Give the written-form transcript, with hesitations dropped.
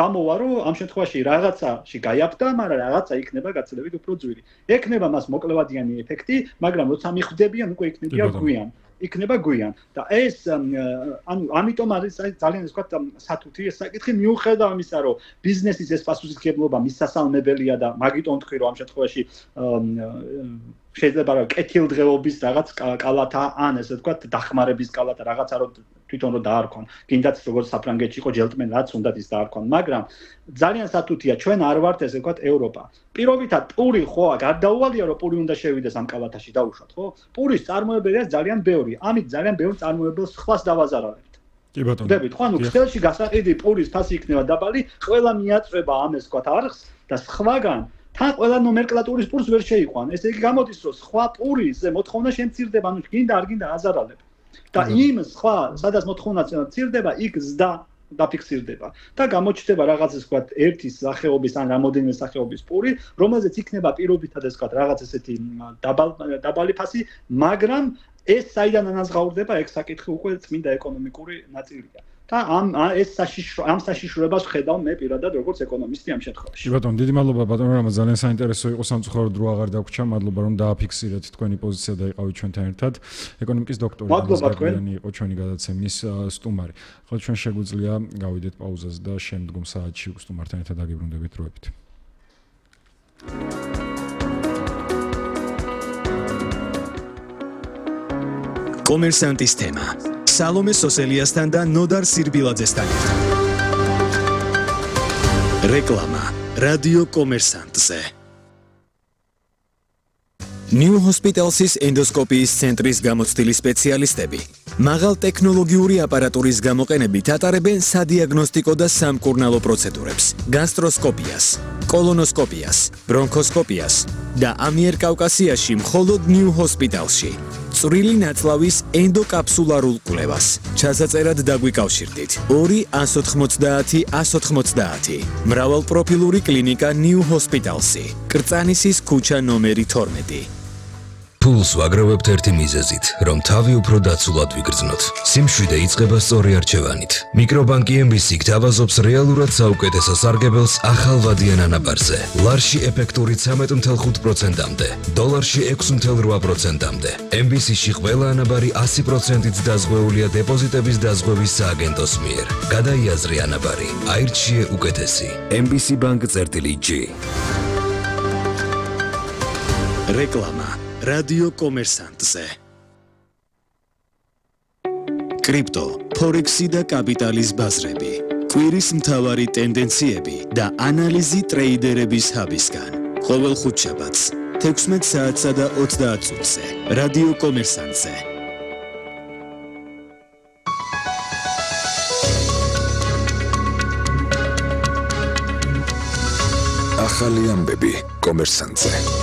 გამოვა რომ ამ შემთხვევაში რაღაცაში გაიაფთა, მაგრამ რაღაცა იქნება გაცილებით უფრო ძვირი. ექნება მას მოკლევადიანი ეფექტი, მაგრამ როცა მიხვდებიან უკვე იქნება გვიან და ეს ანუ ამიტომ არის ძალიან ეს ვთქვათ სათუთი ეს საკითხი მიუხედავად იმისა რომ ბიზნესის ეს პასუხისმგებლობა მისასალმებელია და მაგიტომ თქვი რომ ამ შემთხვევაში შეიძლება რომ კეთილდღეობის რაღაც კალათა ან ესე ვთქვათ დახმარების კალათა რაღაცა რომ თვითონ რომ დაარქვან კიდაც როგორც საფრანგეთში იყო ჯელტმენ რაც უნდათ ის დაარქვან მაგრამ ძალიან სათუთია ჩვენ არ ვართ ესე ვთქვათ ევროპა პირობითად პური ხო გარდაუვალია რომ პური უნდა შევიდეს ამ კალათაში დაუშვათ ხო პურის წარმოებელია ძალიან ბევრი ამით ძალიან ბევრ წარმოებელს ხვას დავაზარავებთ კი ბატონო ვთქვით ხო ანუ ქსელში გასაყიდი პურის ფასი იქნება დაბალი ყველა მიაწვება ამ ეს ვთქვათ არხს და სხვაგან თან ყველა ნომენკლატურის პურს ვერ შეიყვან ესე იგი გამოდის რომ სხვა პურისზე მოთხოვნა შემცირდება ანუ გინდა არ გინდა აზარალებ და იმ სხვა სადაც მოთხოვნა მცირდება იქ ზდა დაფიქსირდება და გამოჩნდება რაღაც ეს ვთქვათ ერთი სახეობის ან რამოდენიმე სახეობის პური რომელზეც იქნება პირობითად ეს ვთქვათ რაღაც ესეთი დაბალი ფასი მაგრამ ეს საიდან ანაზღაურდება ეგ საკითხი უკვე წმინდა ეკონომიკური ნაწილია და ამ საშიშროებას ხედავ მე პირადად როგორც ეკონომისტი ამ შემთხვევაში. ბატონო, დიდი მადლობა ბატონო, რომ ძალიან საინტერესო იყო სამწუხაროდ დრო აღარ დაგვრჩა. მადლობა რომ დააფიქსირეთ თქვენი პოზიცია და იყავით ჩვენთან ერთად. ეკონომიკის დოქტორი განსაკუთრებული იყო ჩვენი გადაცემის სტუმარი. ხო ჩვენ შეგვიძლია გავიდეთ პაუზას და შემდგომ საათში სტუმართან ერთად დაგიბრუნდებით დროებით. კომერსანტის თემა სალომე სოსელიასთან და ნოდარ სირბილაძესთან ერთად. რეკლამა რადიო კომერსანტზე. New Hospitals's ენდოსკოპიის ცენტრის გამოცდილი სპეციალისტები მაღალ ტექნოლოგიური აპარატურის გამოყენებით ატარებენ სადიაგნოსტიკო და სამკურნალო პროცედურებს, გასტროსკოპიას, კოლონოსკოპიას, ბრონქოსკოპიას და ამიერკავკასიაში მხოლოდ New Hospitalsში. წვრილი ნაწლავის ენდოკაფსულარულ კვლევას. ჩასაწერად დაგვიკავშირდით 2-190-190. მრავალპროფილური კლინიკა New Hospitalsი. კრწანისის ქუჩა ნომერი 12. ფულს ვაგროვებთ ერთი მიზეზით, რომ თავი უფრო დაცულად ვიგრძნოთ. სიმშვიდე იწყება სწორი არჩევანით. მიკრობანკი MBC გთავაზობს რეალურად საუკეთესო სარგებელს ახალ ვადიან ანაბარზე. ლარში ეფექტური 13.5%-მდე, დოლარში 6.8%-მდე. MBC-ში ყველა ანაბარი 100%-ით დაზღვეულია დეპოზიტების დაზღვევის სააგენტოს მიერ. გადაიაზრე ანაბარი, აირჩიე უკეთესი. MBC Bank-G. რეკლამა რადიო კომერსანტზე. კრიპტო, ფორექსი და კაპიტალის ბაზრები. კვირის მთავარი ტენდენციები და ანალიზი ტრეიდერების ჰაბისგან. ყოველ ხუთშაბათს 16 საათსა და 30 წუთზე. რადიო კომერსანტზე. ახალი ამბები კომერსანტზე.